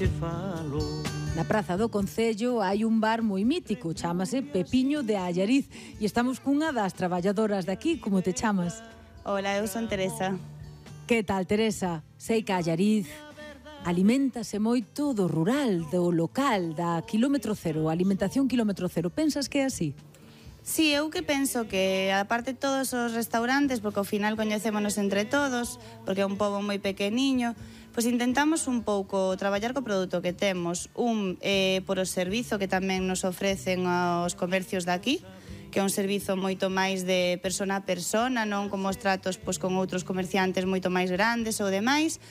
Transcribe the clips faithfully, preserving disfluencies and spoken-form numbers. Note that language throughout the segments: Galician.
che falo. Na Praza do Concello hai un bar moi mítico, chámase Pepiño de Allariz, e estamos cunha das traballadoras de aquí. Como te chamas? Hola, eu son Teresa. Que tal, Teresa? Sei que Allariz aliméntase moito do rural, do local, da kilómetro cero, alimentación kilómetro cero. Pensas que é así? Si, sí, eu que penso que, aparte de todos os restaurantes, porque ao final coñecémonos entre todos, porque é un pobo moi pequeniño, pois intentamos un pouco traballar co produto que temos, un eh, por o servizo que tamén nos ofrecen aos comercios de aquí, que é un servizo moito máis de persona a persona, non como os tratos pois, con outros comerciantes moito máis grandes ou demais.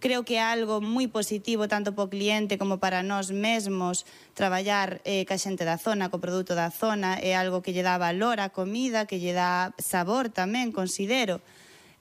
Creo que é algo moi positivo tanto para o cliente como para nós mesmos traballar eh, ca xente da zona, co produto da zona, é algo que lle dá valor á comida, que lle dá sabor tamén, considero.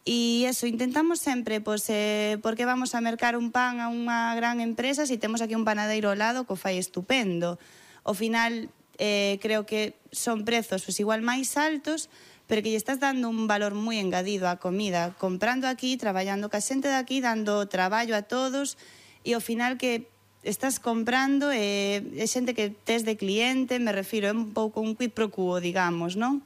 E eso, intentamos sempre, pois, eh, porque vamos a mercar un pan a unha gran empresa se si temos aquí un panadeiro ao lado que o fai estupendo. Ao final, eh, creo que son prezos pois, igual máis altos, pero que lle estás dando un valor moi engadido á comida, comprando aquí, traballando ca xente de aquí, dando traballo a todos, e ao final que estás comprando e é xente que tes de cliente, me refiro, é un pouco un quid pro quo, digamos, non?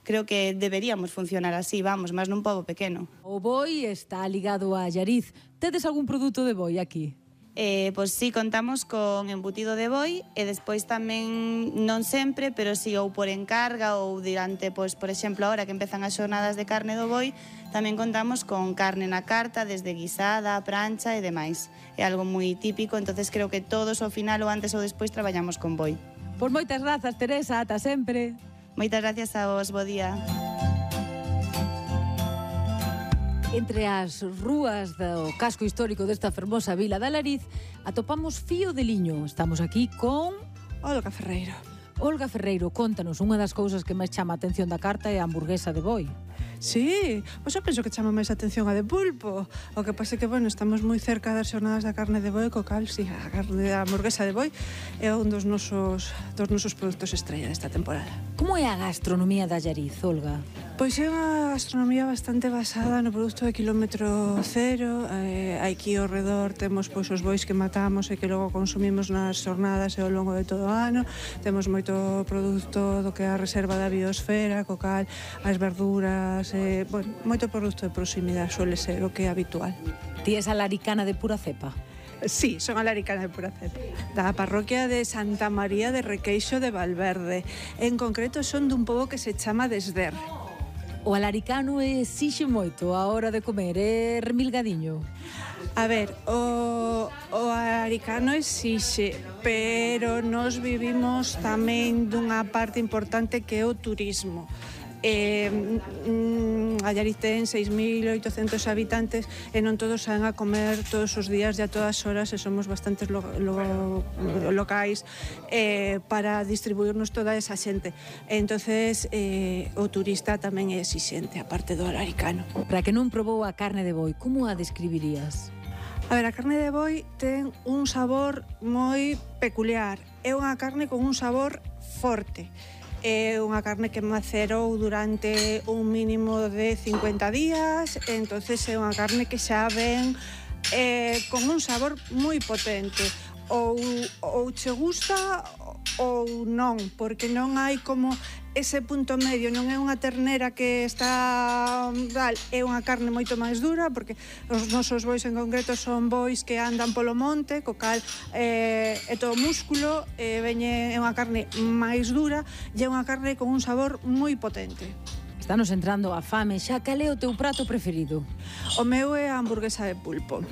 Creo que deberíamos funcionar así, vamos, máis nun pobo pequeno. O boi está ligado a Allariz. Tedes algún produto de boi aquí? Eh, pois sí, contamos con embutido de boi e despois tamén, non sempre, pero si sí, ou por encarga ou durante, pois, por exemplo, ahora que empezan as xornadas de carne do boi, tamén contamos con carne na carta, desde guisada, prancha e demais. É algo moi típico, entonces creo que todos ao final ou antes ou despois traballamos con boi. Pois moitas grazas, Teresa, ata sempre. Moitas gracias a vos, bo día. Entre as rúas do casco histórico desta fermosa vila de Allariz atopamos Fío de Liño. Estamos aquí con Olga Ferreiro. Olga Ferreiro, contanos, unha das cousas que máis chama a atención da carta é a hamburguesa de boi. Sí, pois eu penso que chama máis atención a de pulpo. O que pasa é que, bueno, estamos moi cerca das xornadas da carne de boi, co cal, sí, a carne da hamburguesa de boi é un dos nosos, dos nosos produtos estrella desta temporada. Como é a gastronomía da Allariz, Olga? Pois é unha gastronomía bastante basada no produto de kilómetro cero. Eh, aquí ao redor temos pois, os bois que matamos e que logo consumimos nas xornadas e ao longo de todo o ano. Temos moito produto do que é a reserva da biosfera, co cal as verduras, eh, bueno, moito produto de proximidade suele ser o que é habitual. Ti és alaricana de pura cepa? Sí, son alaricana de pura cepa. Da parroquia de Santa María de Requeixo de Valverde. En concreto son dun pobo que se chama Desder. O alaricano exixe moito a hora de comer, é remilgadiño. A ver, o, o alaricano exixe, pero nós vivimos tamén dunha parte importante que é o turismo. Eh, mm, Allariz ten seis mil oitocentos habitantes e non todos saen a comer todos os días e a todas horas e somos bastantes lo, lo, locais eh, para distribuirnos toda esa xente. Entonces eh, o turista tamén é exixente, aparte do alaricano. Para que non probou a carne de boi, como a describirías? A ver, a carne de boi ten un sabor moi peculiar. É unha carne con un sabor forte. É unha carne que macerou durante un mínimo de cincuenta días, entonces é unha carne que xa ven eh, con un sabor moi potente. Ou, ou che gusta ou non, porque non hai como ese punto medio, non é unha ternera que está tal, é unha carne moito máis dura, porque os nosos bois en concreto son bois que andan polo monte, co cal eh, é todo músculo, eh, veñe, é unha carne máis dura e é unha carne con un sabor moi potente. Estános entrando a fame, xa cal é o teu prato preferido? O meu é a hamburguesa de pulpo.